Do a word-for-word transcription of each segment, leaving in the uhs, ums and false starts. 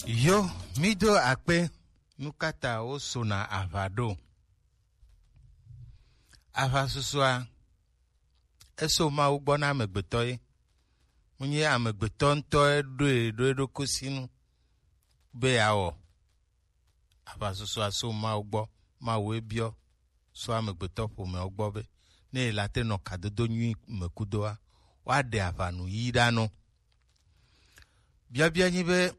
Yo, mi do akpe, nu ka ta wo sona aʋa ɖo? Aʋa susua, eso Mawu gbɔ na amegbetɔ ye. Mu nyi amegbetɔ ŋutɔ ye ɖo ye ɖo eɖokui si nu be yeawɔ. Aʋa susua so Mawu gbɔ, Mawu ye biɔ so amegbetɔ ƒomeawo gbɔ be ne yela te nɔ kadodo nyui me kudoa, woaɖe aʋa nu yi ɖa nɔ. Biɔbiɔ nyi be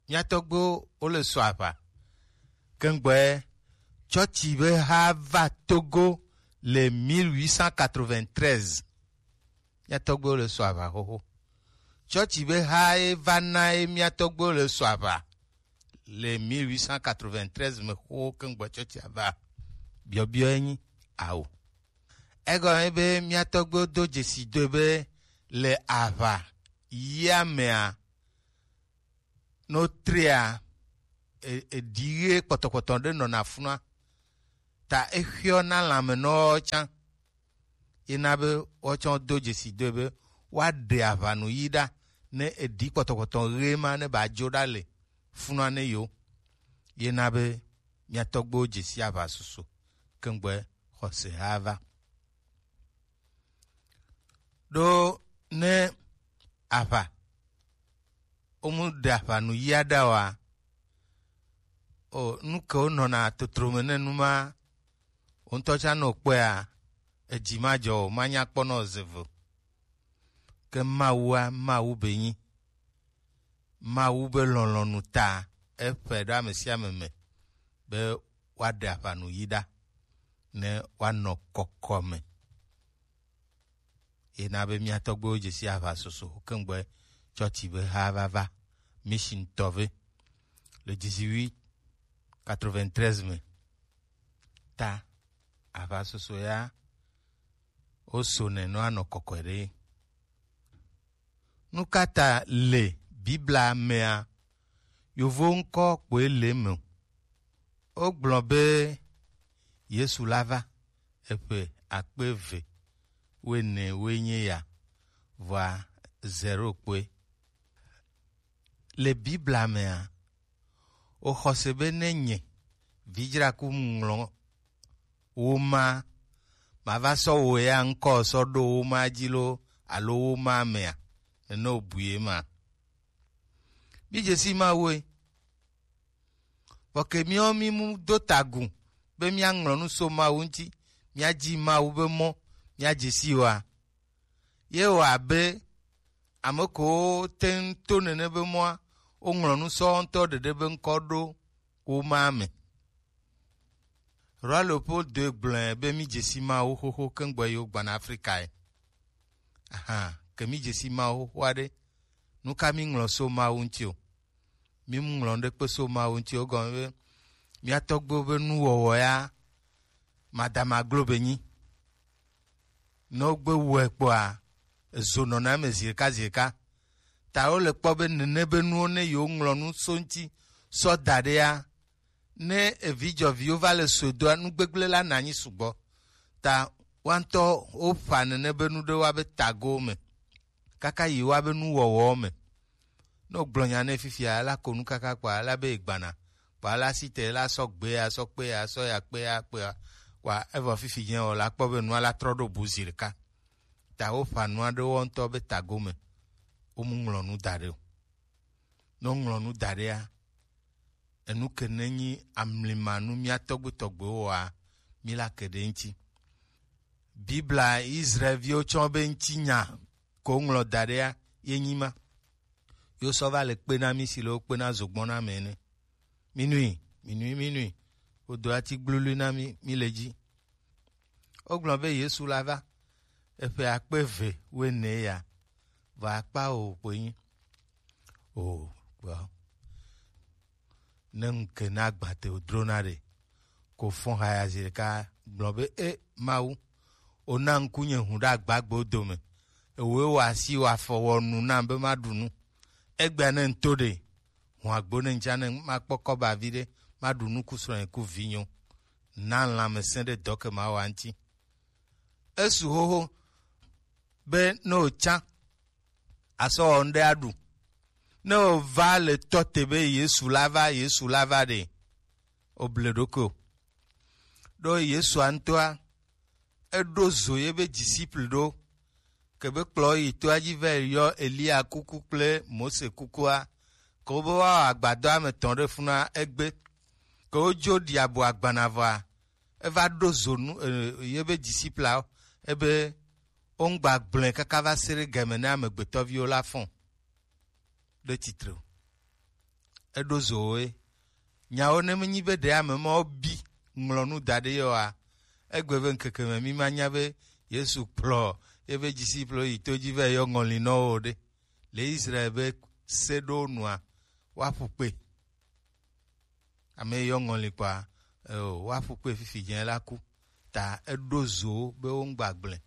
mía tɔgbuiwo wole so aʋa. Kengbe tsɔtsi be ha va Togo le mille huit cent quatre-vingt-treize. Mía tɔgbuiwo le so aʋa xoxo. Tsɔtsi be ha ye va na ye mía tɔgbuiwo le so aʋa le mille huit cent quatre-vingt-treize me xoxo kengbe tsɔtsi ava. Biɔbiɔ ye nyi ao. Egɔme be mía tɔgbuiwo do dzesi doe be le aʋa yia mea, no trea, e- eɖi ɣe kpɔtɔkpɔtɔ ɖe nɔna funua, ta exeɔ na lãmenɔwo tsã. Ye na be woawo tsã wodo dzesi doe be woaɖe aʋa nu yi ɖa ne eɖi kpɔtɔkpɔtɔ ɣe ma ne ba dzo ɖa le funua ne yewo. Ye na be mía tɔgbuiwo dzesi aʋa susu kengbe xɔse ha va. Ɖo ne aʋa, wo mu ɖe aʋa nu yia ɖa oa, o nu ke wo nɔna totro me ne nu ma, wo ŋutɔ tsã nɔ kpɔea, edzi ma dzɔ o, ma nya kpɔ nɔ ze ve o. Ke Mawua, Mawu be nyi. Mawu be lɔlɔ̃nu ta eƒe ɖo ame sia ame me be woaɖe aʋa nu yi ɖa ne woanɔ kɔkɔme. Ye na be mía tɔgbuiwo dze si aʋa soso kengbe tsɔtsi be ha va va mission tɔ ve le dix-huit quatre-vingt-treize me. Ta aʋa soso ya wo so nɛ nɔ anɔ kɔkɔe ɖe. Nu ka ta le Biblia mea, yovo ŋkɔ kpoe le eme o? Wogblɔ be Yesu la va eƒe akpe eve wuiene woe nye ya, vɔa zero kpoe. Le Biblia mea, woxɔse be ne nye vidzraku ŋlɔ wo ma, mava sɔ wo ya ŋkɔ sɔ ɖo wo ma dzi lo alo wo ma mea, nene wobui ye ma. Mi dze si Mawue. Vɔ ke míawo mí mu do tagu be míaŋlɔ nu so Mawu ŋuti, míadzi Mawu be mɔ, míadze si oa? Ye wɔ abe ame kewo te ŋu to nene be mɔa, woŋlɔ nu sɔ wo ŋutɔ ɖeɖe be ŋkɔ ɖo wo ma me. Roi Leopold doe gblɔe be mí dze si Mawu xoxo kengbe yewo gbɔna Afrikae. Aha, ke mí dze si Mawu xoxoa ɖe, nu ka mí ŋlɔ so Mawu ŋuti o? Mí mu ŋlɔ ŋɖekpe so Mawu ŋuti o. Egɔme be mía tɔgbuiwo be nuwɔwɔ ya madama glo be nyi. Ne wogbe wɔe kpɔa, ezo nɔna eme zi ɖeka zi ɖeka. Ta wole kpɔ be nene be nuwo ne yewoŋlɔ nu so ŋuti sɔ da ɖea, ne evidzɔviwo va le sɔe doa, nu gbegblẽ la na anyi sugbɔ. Ta woawo ŋutɔ woƒa nene be nu ɖe woa be tago me kaka yi woa be nuwɔwɔ me. Ne wogblɔ nya nɛ fifia, la ko nu kaka kpɔa, la be egbana. Kpɔa, la si te, la sɔ gbe ya, sɔ kpe ya, sɔ ya kpe ya kpea, kpɔa, evɔ fifi nye o, la kpɔ be nua la trɔ ɖo bu zi ɖeka. Ta woƒa nua ɖe wo ŋutɔ be tago me. Womu ŋlɔ nu da ɖe o. Ne woŋlɔ nu da ɖea, enu ke ne nyi amlimanu mía tɔgbuitɔgbuiwo wɔa, mí la ke ɖe ŋuti. Biblia Israelviwo tsɔ be ŋutinya ko ŋlɔ da ɖea ye nyi ma. Yo sɔ va le kpe na mí si le wo kpe na zogbɔn na me ene. Minui, minui, minui. Wodo ati gblului na mí, mí le dzi. Wogblɔ be Yesu la va eƒe akpe eve wuiene ya, vɔ akpa o kpoe nyi. O, kpɔ. Ne ŋke na gbate wodrona ɖe, ko fɔn haya zi ɖeka gblɔ be, e Mawu, wona ŋku nye hũ ɖe agbagbewo dome. Ewoe wɔ asi wɔ afɔ wɔ nu nam be maɖu nu. Egbea ne ŋto ɖe, hũ agbo ne ŋtsa ne makpɔ kɔba viɖe, maɖu nu ku srɔ̃nye ku vinyewo. Na lãmesẽ ɖe dɔ ke mawa ŋuti. Esu xoxo be ne wòtsã asɔ wɔ ŋɖe aɖu. Ne o va le tɔ te be Yesu la va, Yesu la va ɖe, o ble ɖokui o. Ɖo Yesua ŋutɔa, eɖo zo ye be disciple ɖo, ke be kplɔ yi toa dzi va yɔ Elia kuku kple Mose kukua, ke wo be woawɔ agbadɔa me tɔn ɖe funua egbe, ke wodzo ɖi abo agbana vɔa, eva ɖo zo nu, e, ye be discipleawo, ebe wo ŋgba gblɔe kaka va se ɖe game ne amegbetɔviwo la fɔn ɖe tsitre o. Eɖo zo wo ye. Nyawo ne menyi be ɖe ame mawo bi ŋlɔ nu da ɖe ye oa, egbe be ŋkeke me mi ma nya be Yesu kplɔ ye be disciple yi to dzi va yɔ ŋɔli nɔ wo ɖe. Le Israel be se ɖo nua, woaƒu kpe. Ame yi yɔ ŋɔli kpɔa, eo, woaƒu kpe fifi dze la ku. Ta eɖo zo wo be wo ŋgba gblɔe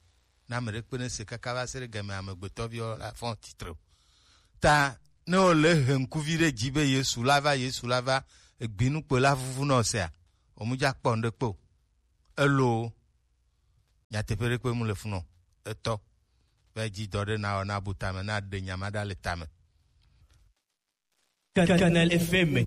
na ame ɖe kpe ne se kaka va se ɖe game amegbetɔviwo la fɔn tsitre o. Ta ne wo le he ŋkuvi ɖe dzi be Yesu la va, Yesu la va, egbinu kpe la vuvu nɔ sea, o mu dza kpɔ ŋɖe kpe o. Elo nyateƒe ɖe kpe mu le funɔ. Etɔ. Be dzi dɔ ɖe na wɔ na bu tame, na ɖe nya ma ɖa le tame. Canal F M.